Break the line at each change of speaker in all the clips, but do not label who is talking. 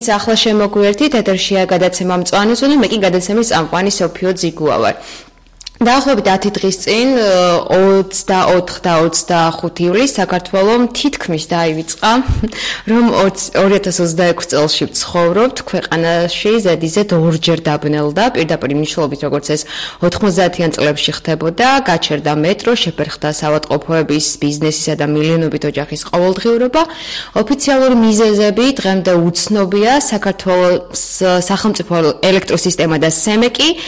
ახლა შემოგვიერთით ეთერშია გადაცემა მწვანე მე კი გადაცემის წამყვანი სოფიო ძიგუა ვარ. დაახლოებით 10 დღის წინ 24 და 25 ივლისს საქართველოს თითქმის დაივიწყა, რომ 2026 წელში ვცხოვრობთ ქვეყანაში ზედიზედ ორჯერ დაბნელდა პირდაპირ მნიშვნელობით როგორც ეს 90-იან წლებში ხდებოდა, გაჩერდა მეტრო, შეფერხდა საავადმყოფოების, ბიზნესისა და მილიონობით ოჯახის ყოველდღიურობა. ოფიციალური მიზეზები დღემდე უცნობია, საქართველოს სახელმწიფო ელექტროსისტემა და სემეკი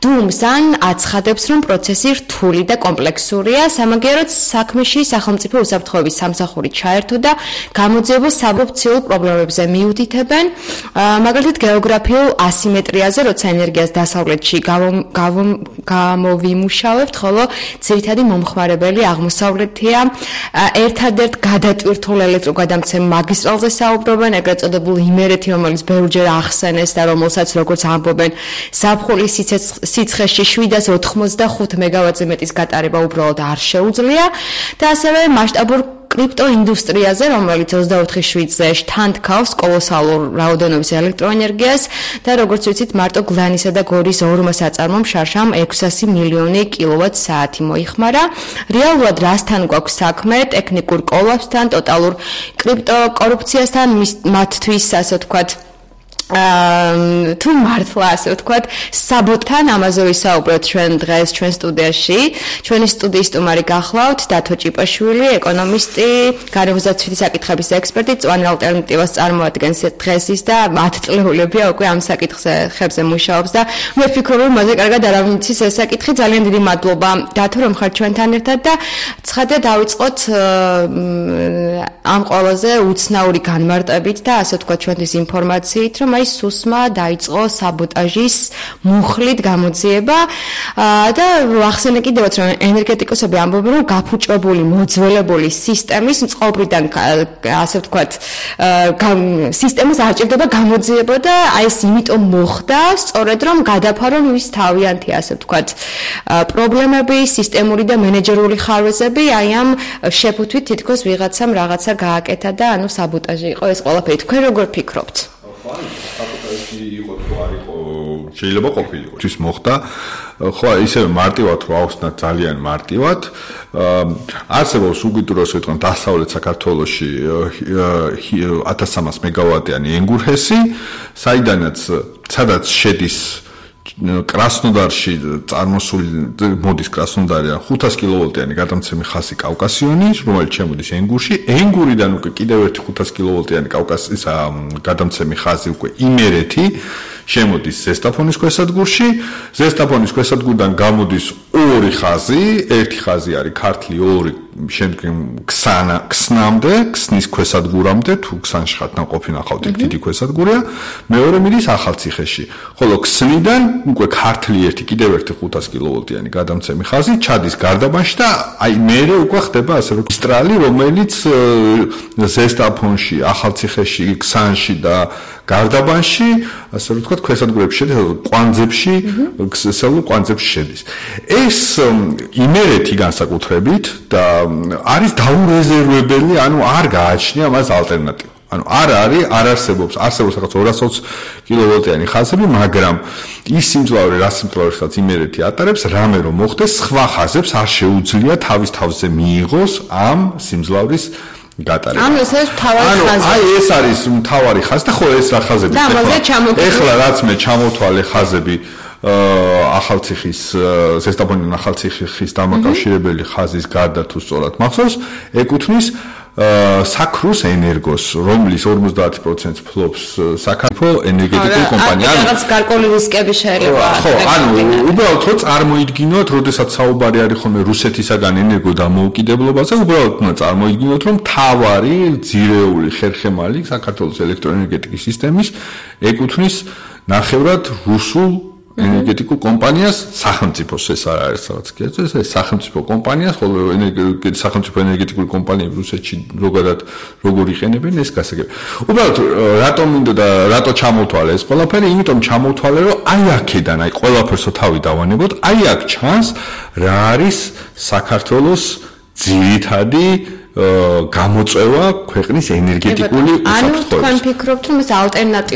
დუმს ან აცხადებს, რომ პროცესი რთული და კომპლექსურია, სამაგიეროდ საქმეში სახელმწიფო უსაფრთხოების სამსახური ჩაერთო და გამოძიებულ საბოფციურ პრობლემებზე მიუთითებენ, მაგალითად გეოგრაფიულ ასიმეტრიაზე, როცა ენერგიას დასავლეთში გამოვიმუშავებთ, ხოლო ძირითადი მომხმარებელი აღმოსავლეთია. ერთადერთ გადატვირთულ ელექტროგადამცემ მაგისტრალზე საუბრობენ, ეგრეთ წოდებულ იმერეთი, რომელიც ბევრჯერ ახსენეს და რომელსაც როგორც ამბობენ, ზაფხულის სიცხეში 785 მეგავატზე მეტის გატარება უბრალოდ არ შეუძლია და ასევე მასშტაბურ კრიპტო ინდუსტრიაზე, რომელიც 24/7-ზე შთანთქავს კოლოსალურ რაოდენობის ელექტროენერგიას და როგორც ვიცით, მარტო გლანისა და გორის ორმო საწარმომ შარშამ 600 მილიონი კილოვატ-საათი მოიხმარა. რეალურად რასთან გვაქვს საქმე? ტექნიკურ კოლაფსთან, ტოტალურ კრიპტო კორუფციასთან, მათთვის, ასე ვთქვათ, თუ მართლა ასე ვთქვათ, საბოტთან ამაზე ვისაუბროთ ჩვენ დღეს ჩვენ სტუდიაში. ჩვენი სტუდიის სტუმარი გახლავთ დათო ჭიპაშვილი, ეკონომისტი, გარემოსდაცვითი საკითხების ექსპერტი, მწვანე ალტერნატივას წარმოადგენს დღეს ის და 10 წლეულებია უკვე ამ საკითხებზე მუშაობს და მე ვფიქრობ, რომ მასე კარგად არავითის ეს საკითხი. ძალიან დიდი მადლობა დათო, რომ ხართ ჩვენთან ერთად და ცხადია დავიწყოთ ამ ყველაზე უცნაური განმარტებით და ასე ვთქვათ ჩვენთვის ინფორმაციით, რომ აი სუსმა დაიწყო საბოტაჟის მუხლით გამოძიება და ახსენე კიდევაც რომ ენერგეტიკოსები ამბობენ რომ გაფუჭებული მოძველებული სისტემის წყობრიდან ასე ვთქვათ სისტემას არ ჭირდება გამოძიება და აი ეს იმიტომ მოხდა სწორედ რომ გადაფარო ის თავიანთი ასე ვთქვათ პრობლემები სისტემური და მენეჯერული ხარვეზები აი ამ შეფუთვით თითქოს ვიღაცამ რაღაცა გააკეთა და ანუ საბოტაჟი იყო ეს ყველაფერი. თქვენ როგორ ფიქრობთ?
საბოტაჟი იყო თუ არ იყო შეიძლება ყოფილიყო. ის მოხდა ხო ისევ მარტივად რო ავხსნათ ძალიან მარტივად არსებობს უგიდუროს ვიტყვით დასავლეთ საქართველოში 1300 მეგავატიანი ენგურჰესი, სადაც შედის კრასნოდარში წარმოსული მოდის კრასნოდარიდან 500 კილოვოლტიანი გადამცემი ხაზი კავკასიონი, რომელიც შემოდის ენგურში. ენგურიდან უკვე კიდევ ერთი 500 კილოვოლტიანი კავკასიის გადამცემი ხაზი უკვე იმერეთი შემოდის ზესტაფონის ქვესადგურში. ზესტაფონის ქვესადგურიდან გამოდის ორი ხაზი, ერთი ხაზი არის ქართლი, ორი შემდგომ ქსნამდე, ქსნის ქვესადგურამდე, თუ ქსანში ხართ ნაყოფი ნახავთ, დიდი ქვესადგურია. მეორე მიდის ახალციხეში. ხოლო ქსნიდან უკვე ქართლი ერთი კიდევ ერთი 500 კილოვოლტიანი გადამცემი ხაზი ჩადის გარდაბანში და აი მერე უკვე ხდება ასე რომ სტრალი, რომელიც ზესტაფონში, ახალციხეში, ქსანში და გარდაბანში, ასე რომ ვთქვათ, ქვესადგურებში შედის, კვანძებში, ქსელურ კვანძებში შედის. ეს იმერეთი განსაკუთრებით და არის დაურეზერვებელი, ანუ არ გააჩნია მას ალტერნატივა. ანუ არ არსებობს რაღაც 220 კილოვოლტიანი ხაზები, მაგრამ ის სიმძლავრე, რა სიმძლავრესაც იმერეთი ატარებს, რამე რომ მოხდეს, სხვა ხაზებს არ შეუძლია თავის თავზე მიიღოს ამ სიმძლავრის გატარება.
ანუ ეს თავარი ხაზი.
აი ეს არის თავარი ხაზი და ხო ეს რა ხაზები ეხლა რაც მე ჩამოთვალე ხაზები ახალციხის ზესტაფონიდან ახალციხის დამაკავშირებელი ხაზის გარდა თუ სწორად მახსოვს, ეკუთვნის საქრუს ენერგოს, რომლის 50% ფლობს საქართველოს ენერგეტიკული კომპანია.
რაღაც გარკვეული რისკები შეიძლება.
ხო, ანუ უბრალოდ რო წარმოიდგინოთ, როდესაც საუბარი არის ხოლმე რუსეთისაგან ენერგო დამოუკიდებლობაზე, უბრალოდ უნდა წარმოიდგინოთ, რომ თავარი ძირეული ხერხემალი საქართველოს ელექტროენერგეტიკის სისტემის ეკუთვნის ნახევრად რუსულ ენერგეტიკულ კომპანიას, სახელმწიფოს ეს არ არის რაღაც კერძო, ეს სახელმწიფო კომპანიას, ხოლო სახელმწიფო ენერგეტიკული კომპანიები რუსეთში როგორ იყენებენ ეს გასაგები. უბრალოდ რატომ მინდა და რატო ჩამოვთვალე ეს ყველაფერი? იმიტომ ჩამოვთვალე, რომ აი აქედან, აი ყველაფერსო თავი დავანებოთ, აი აქ ჩანს რა არის საქართველოს ძირითადი გამოწვევა ქვეყნის ენერგეტიკული უსაფრთხოების.
ანუ თქვენ ფიქრობთ, რომ ეს ალტერნატივა